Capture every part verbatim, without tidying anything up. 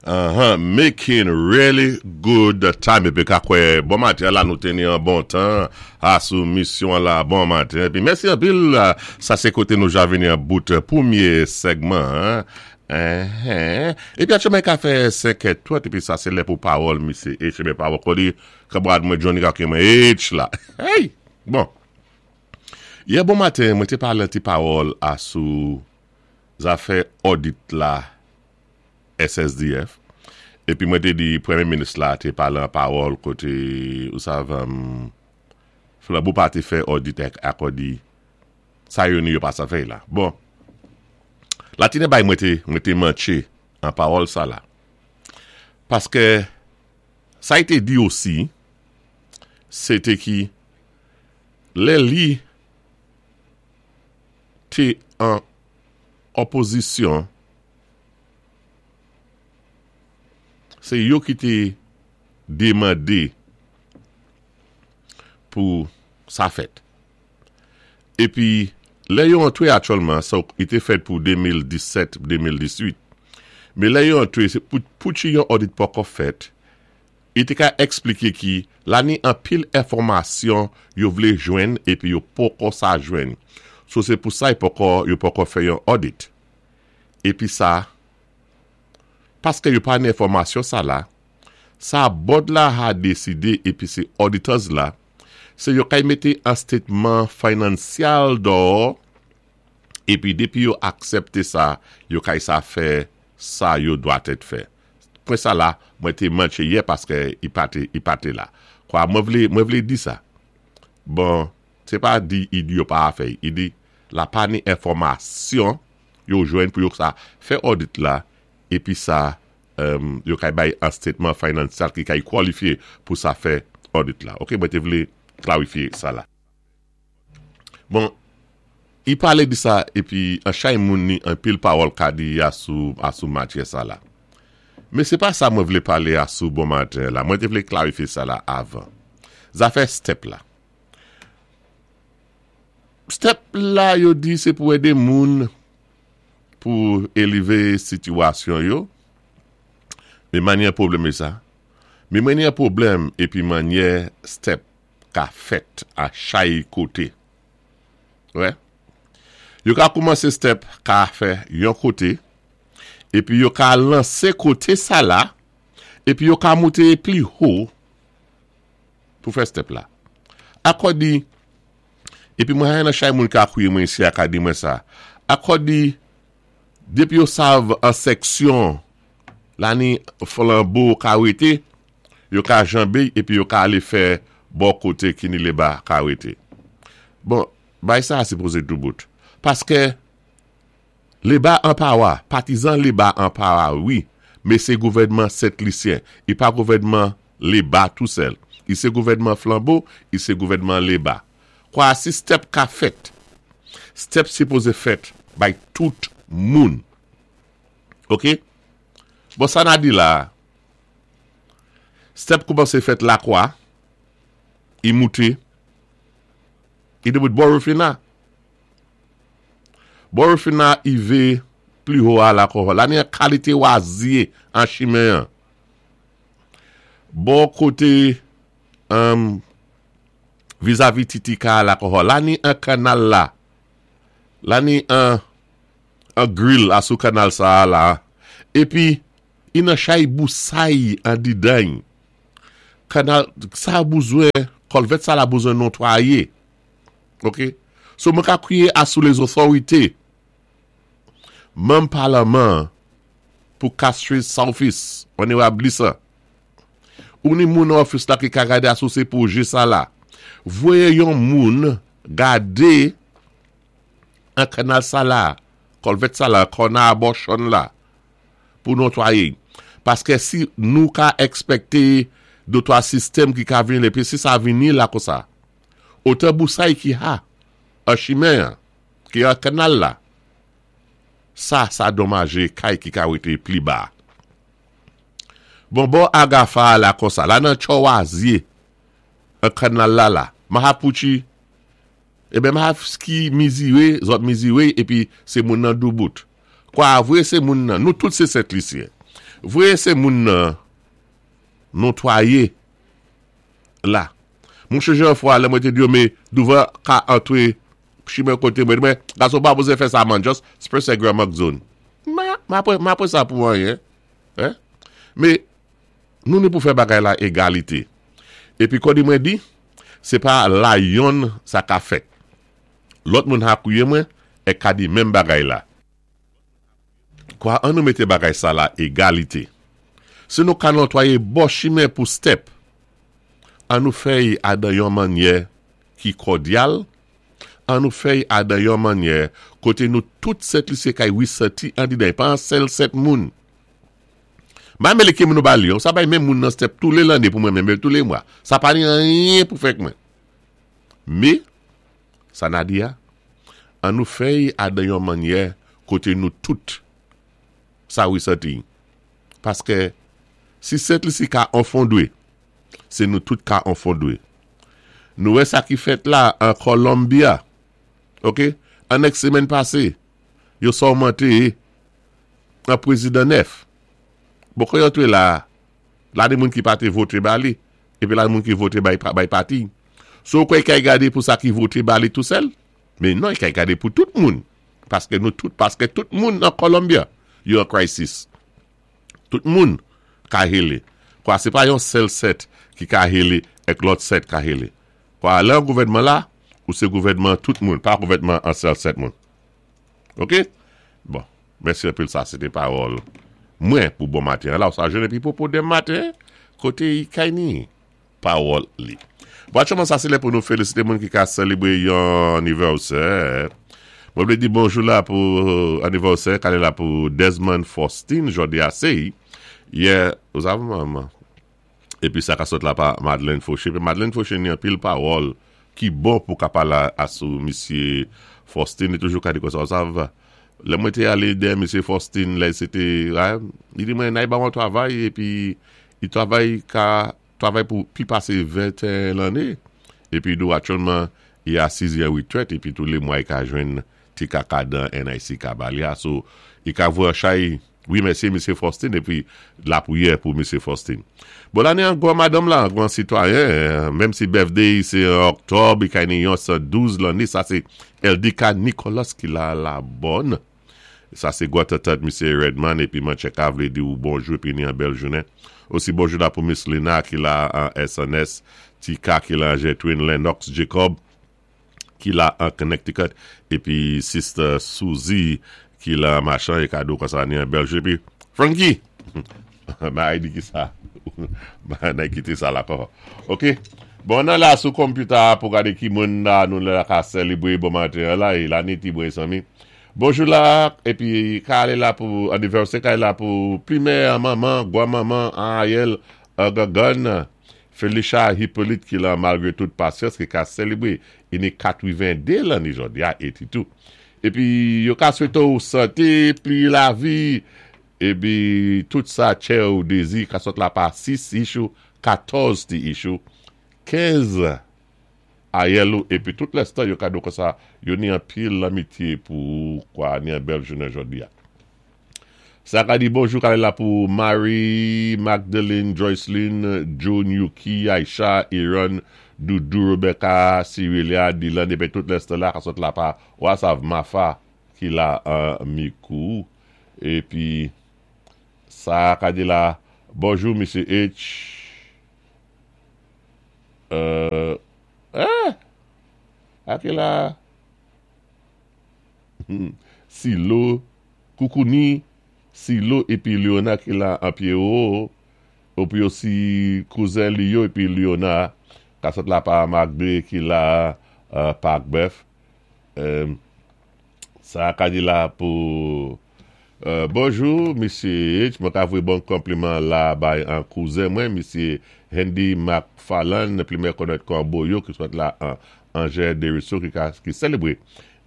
Uh-huh, making really good time. Épi ka kwè, bon maten la, nou té ni an bon tan asou misyon la, bon maten. Épi mèsi anpil, sa sé koté nou ja vini an bout pwémyé segman. Uh-huh. Épi aktyèlman ka fè senk è trant, épi sa sé lè pou pawòl, misyé H, épi pawòl kodi, kanmarad mwen Johnny ka mwen H la. Hey! Bon. Yè bon maten, mwen té palé ti pawòl asou zafè audit la S S D F. Épi mwen té di pwémyé minis la té palé an pawòl koté, ou sav, um, Flambeau pa té fè audit ak akòdi sa yo ni yo pa sa fè la. Bon, la tine bay mwen té, mwen té manché an pawòl sa la. Paské sa té di osi, sé té ki lè li té an opozisyon, sé yo ki té demandé pou sa fèt. Épi, lè yo antwé aktyèlman, sa i té fèt pou de mil disèt-de mil dizuit, mé lè yo antwé, sé pou, pou ti yon audit poko fèt, i té ka ekspliké ki la ni an pil enfòmasyon yo vlé jwenn épi yo poko sa jwenn. So sé pou sa yo poko, yo poko fè yon audit. Épi sa, paské yo pa ni enfòmasyon sa la, sa board la ha désidé épi sé auditors la, sé yo kay mété an statement financial dò, épi dépi yo aksepté sa, yo kay sa fè sa yo dwa tèt fè. Pwen sa la, mwen té manché yè paské i pa té, i pa té la. Kwa mwen vlé, mwen vlé di sa. Bon, sé pa di i di yo pa fè, i di la pa ni enfòmasyon yo jwenn pou yo sa fè audit la, épi sa um, yo kay bay an statement financial ki kay kwalifyé pou sa fè audit la. Ok, mwen té vlé klarifyé sa la. Bon, i palé di sa, épi an chay moun ni an pil pawòl ka di asou, asou matyè sa la. Mé sé pa sa mwen vlé palé asou bon maten la. Mwen té vlé klarifyé sa la avan. Zafè step la. Step la yo di sé pou édé moun pou élévé sitiyasyon yo. Mé manyè pwoblèm é sa. Mé manyè pwoblèm épi manyè step ka fèt a chay koté. Wè. Yo ka koumansé step ka fè yon koté, épi yo ka lansé koté sa la, épi yo ka mouté pli ho pou fè step la. Akòdi, épi mwen hay nan chay moun ka kouye mwen isi a ka di mwen sa. Akòdi, dépi yo sav an seksyon, la ni Flambeau ka wété, yo ka janbé, épi yo ka alé fè bò koté ki ni léba ka wété. Bon, bay sa a sipozé tou bout. Paské léba an pawa, patizan léba an pawa, wi, mé sé gouvèdman Sent Lisyen, i pa gouvèdman léba tou sèl. I sé gouvèdman Flambeau, i sé gouvèdman léba. Kwa si step ka fèt, step sipozé fèt bay tout moun. Ok? Bon, sa na di la, step koumansé fèt la kwa, i mouté, i debout bò Rufina. Bò Rufina i vé pli ho a la kon. La ni an kalité wazye an chimen an. Bò koté um, vizavi Titika la kon. La ni an kanal la. La ni an an grill asou kanal sa la. Épi i nan chay bousay an didan. Kanal sa bouzwen, kolvet sa la bouzwen notwaye. Ok? So mwen ka kwiyé asou les autorités. Manm palman pou Castries South East, Honorable Lisa. Ou ni moun office la ki ka gade asou sé pwojé sa la. Voyé yon moun gade an kanal sa la, kolvet sa la, kona abortion la, pou notwaye. Paské si nou ka ekspekté de twa sistèm ki ka vini, épi si sa vini la kon sa, otan bousay ki ha, an chimen an, ki an kanal la, sa, sa donmajé kay ki ka wété pli ba. Bon, bon agafa la kon sa, la nan chowazye, an kanal la la, mahapouchi, e ben mahap ki mizire, zot mizire, épi sé moun nan doubout. Kwa vwé sé moun nan, nou tout sé Sent Lisyen. Vwé sé moun nan notwayé la. Mwen chanje yon fwa, lè mwen té di yo mé douvan ka antwé chimen koté mwen, mwen, gason pa bezwen fè sa man, just press grandma zone. Ma, ma pwé, ma pwé sa pou anyen. Hein? Mé, nou ni pou fè bagay la égalité. Épi kon di mwen di, sé pa la yonn sa ka fèt. Lòt moun ha kouye mwen, é ka di menm bagay la. Kwa an nou mété bagay sa la égalité. Si nou ka notwayé bò chimen pou step, an nou fè'y adan yon mannyè ki kòdyal, an nou fè'y adan yon mannyè koté nou tout Sent Lisi kay wisati an di den, pa an sèl sèt moun. Ma mélé ki moun nou ba li yon, sa bay menm moun nan step tou lé lanné pou mwen menm, tou lé mwa. Sa pa ni anyen pou fèk mwen. Mé, sa na di ya, an nou fè'y adan yon mannyè koté nou tout sa wisati. Paské si Sent Lisi ka anfondwé, sé nou tout ka anfondwé. Nou wè sa ki fèt la an Colombia. Ok? An èk sémèn pasé, yo sèmanté an pwézidan nèf. Bon, kon yo antwé la, la ni moun ki pa té voté ba li, épi la ni moun ki voté bay, bay pati. So kwa kay gadé pou sa ki voté ba li tou sèl? Mé non, kay gadé pou tout moun. Paské nou tout, paské tout moun nan Colombia, yo an crisis. Tout moun ka hélé. Kwa sé pa yon sèl sèt ki ka hélé èk lòt sèt ka hélé. Kwa lè an gouvèdman la, ou sé gouvèdman tout moun, pa gouvèdman an sèl sèt moun. Ok? Bon, mèsi anpil sa, sé té pawòl mwen pou bon maten. La, ou sa jwenn épi pou pou denmen maten, koté i kay ni pawòl li. Bon, aktyèlman sa sé lè pou nou félisité moun ki ka sélébré yon anivèsè. Mwen vlé di bonjou la pou anivèsè, kale la pou Desmond Faustin, jòdi a sé. Yè, ou sav maman? Épi sa ka sot la pa Madeleine Fauché. Pi Madeleine Fauché ni an pil pawòl ki bon pou ka pala asou Misye Faustin. Li toujou ka di kon sa, ou sav, lè mwen té alé dè Misye Faustin, lè sé té, li di mwen nay ba mwen travay, épi i travay ka, travay pou pi pasé venteyen lanné. Épi dou aktyèlman, i asiz yon retrèt, épi tou lé mwa i ka jwenn ti kaka dan N I C ka ba li a. So, i ka vwe chay, wi mèsi Misye Faustin, épi la pwiyè pou Misye Faustin. Bon, la ni an gwan madame la, an gwan sitwayen, menm si birthday sé an oktòb, i kay ni yon san douz lanné, sa sé Eldika Nicolas ki la la bonne. Sa sé gwan tatat Misye Redman, épi man chèk vlé di ou bonjou, épi ni an bèl jounen. Osi bonjou la pou Miss Lina ki la an S N S, Tika ki la an Jetwin, Lennox Jacob ki la an Connecticut, épi Sister Suzy ki la an machan, é kado kon sa ni an bèl jou. Épi Frankie, ma ay di ki sa, ma nay kité sa la kon. Ok, bon nan la sou computer pou gade ki moun la nou la ka selebre bon maten la, e la ni ti bwe sami. Bonjou la, épi ka ale la pou anivèsè, ka ale la pou primè, maman, gwa maman, Ariel, Gagan, Felicia Hippolyte ki la malgré toute patience ki ka selebre ini katwéven-dé lanné jòdi a eighty-two. Épi yo ka swété ou santé, pli lavi, épi tout sa tchè ou dézi ka sot la pa sis issue, katòz ti issue, kenz ayèl ou, épi tout lèstan yo kado kon sa, yo ni an pil lanmitié pou kwa ni an bèl jounen jòdi a. Sa ka di bonjou kale la pou Marie, Magdalene, Joycelyn, June, Yuki, Aisha, Aaron, Doudou, Rebecca, Cyrilia, Dylan, épi tout lèstan la ka sot la pa Wasav Mafa ki la an Mikou. Épi sa ka di la bonjou Misye H. Euh, eh, ake la Silo, Koukouni, Silo épi Leona ki la an Pierrot, épi osi kouzen li yo épi Leona, ka sot la pa Magde ki la uh, Parc Bœuf. Euh, sa ka di la pou euh, bonjou Misye H, mwen ka vwe bon konpliman la bay an kouzen mwen, Misye Hendy McFarlane, pli konnèt kon Boyo, ki sot la an Angers Desruisseaux ki, ka, ki selebre.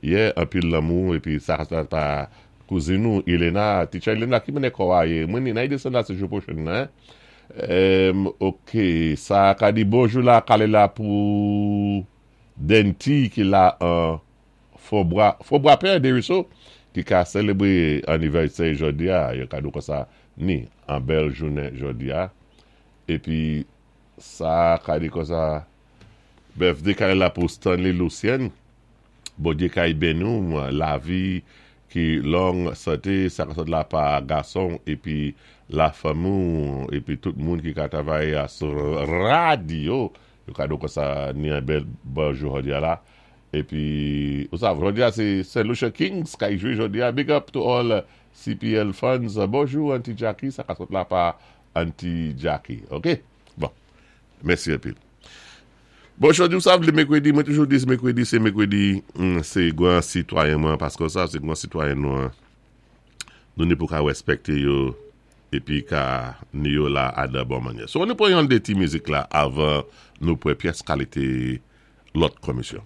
Yè, an pil lanmou, épi sa ka sot pa kouzin nou, Elena, teacher Elena, ki mene kwa ye, mwen ni, nan yi desen la se jou pwochen nan. Um, ok, sa ka di bonjou la, kale la pou Denti ki la an Fobra, Fobra Père Desruisseaux, ki ka selebre anivèsè jòdi a, yo ka nou kon sa. Ni an bèl jounen jòdi-a. Épi sa ka di konsa, birthday kay la pou Stanley Lucien. Bondyé kay béni ou, lavi ki long santé, sa ka sot la pa gason épi la fanmi épi tout moun ki ka travay sou radyo. Yo ka di konsa ni an bèl bonjou jòdi-a la. Épi, ou sav, jòdi-a sé Saint Lucia Kings kay jwé jòdi-a. Big up to all C P L fans. Bonjou Auntie Jackie, sa ka sot la pa Auntie Jackie. Ok? Bon, mèsi anpil. Bon, jòdi, ou sav, lé mèkwédi, mwen toujou di sé mèkwédi, sé mèkwédi, sé gwan sitwayen mwen, paski sa, sé gwan sitwayen nou, nou ni pou ka wèspèkté yo, épi ka ni yo la a de bon mannyè. So, nou pwan yon dé ti mizik la, avan nou pwan pyès kalité lòt komisyon.